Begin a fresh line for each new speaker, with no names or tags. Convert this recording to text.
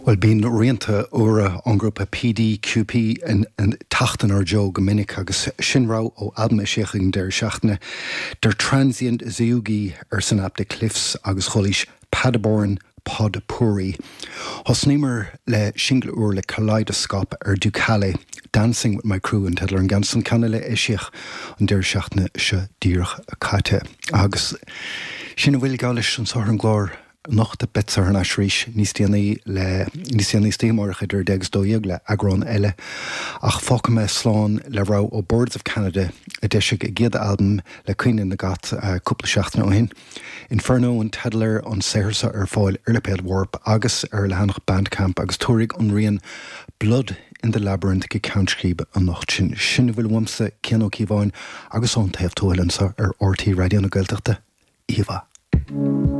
Bhuel, bíonn rianta úra ón ngrúpa PDQP ag teacht inár dtreo go minic agus sin rogha ó albam a eisíodh ag an deireadh seachtaine, Der Transient Zeuge arsan aip De Cliffs agus chualaís Paderborn Pod Pourri. Thosnaíomar le singil úr le Kaleidoskop ar Ducale, Dancing With My Crew an teideal ar an gceann san, ceann eile a eisíodh an deireadh seachtaine seo díreach caite. Agus sin a bhfuil geall leis anso ar an gclár. Anocht beadsa thar n-ais arís níos déanaí le níos déanaí istoíche amárach idir 10 agus 12 le eagrán eile ach fágfaidh mé slán le rogha ó Birds of Canada a d'eisigh a gcéad albam le Caoineadh na gCat cúpla seachtain ó shin. Inferno an teideal air, an saothar seo ar fáil ar lipéad Warp agus ar a leathanach Bandcamp agus tabharfaidh an rian Blood in the Labyrinth go ceann scríbe an nocht sin. Sin a bhfuil uaimse, Cian Ó Cíobháin agus ón taobh tuathail anseo ar RTÉ Raidió na Gaeltachta. Oíche mhaith.